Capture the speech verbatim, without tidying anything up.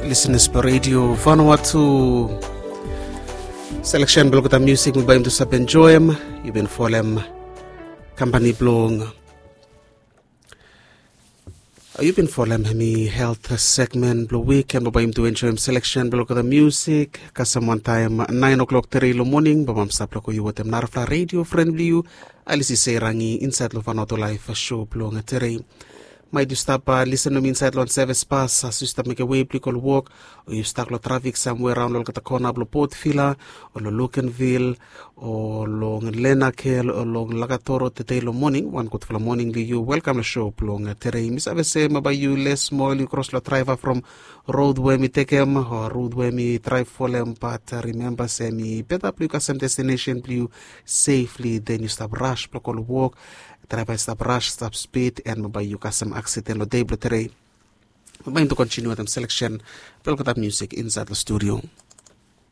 Lisenas blong redio Vanuatu. Seleksen blong olgeta musik we bae yumi tu save enjoem, yu bin folem kampani blong yu bin folem hemi helt segmen blong wik, en bae yumi tu enjoem seleksen blong olgeta musik kasem wantaem naen o'klok tere long moning. Bae mam stap long go yu wetem narafala redio fren blong yu, Alisi Seirangi, insaed long Vanuatu Laef sho blong tere. Maet yu stap lisen long mi insaed long seves pas, as yu stap mekem wei blong yu go long wok, o yu stak long trafik samwe raon long olgeta kona blong Port Vila, o long Luganville, o long Lenakel, o long Lakatoro tede long moning, wan gudfala moning long yu. Welkam long sho blong tere. Mi save se bae yu les moa yu kros long draeva from rod we mi tekem o rod we mi draev folem, bat rimemba se mi beta blong yu kasem destinesen blong yu sefli, den yu stap ras blong go long wok. Draeva i stap ras, stap spid, en bae yu kasem aksiden long dei blong tere. Bae yumi tu kontiniu wetem seleksen blong olgeta musik insaed long studio.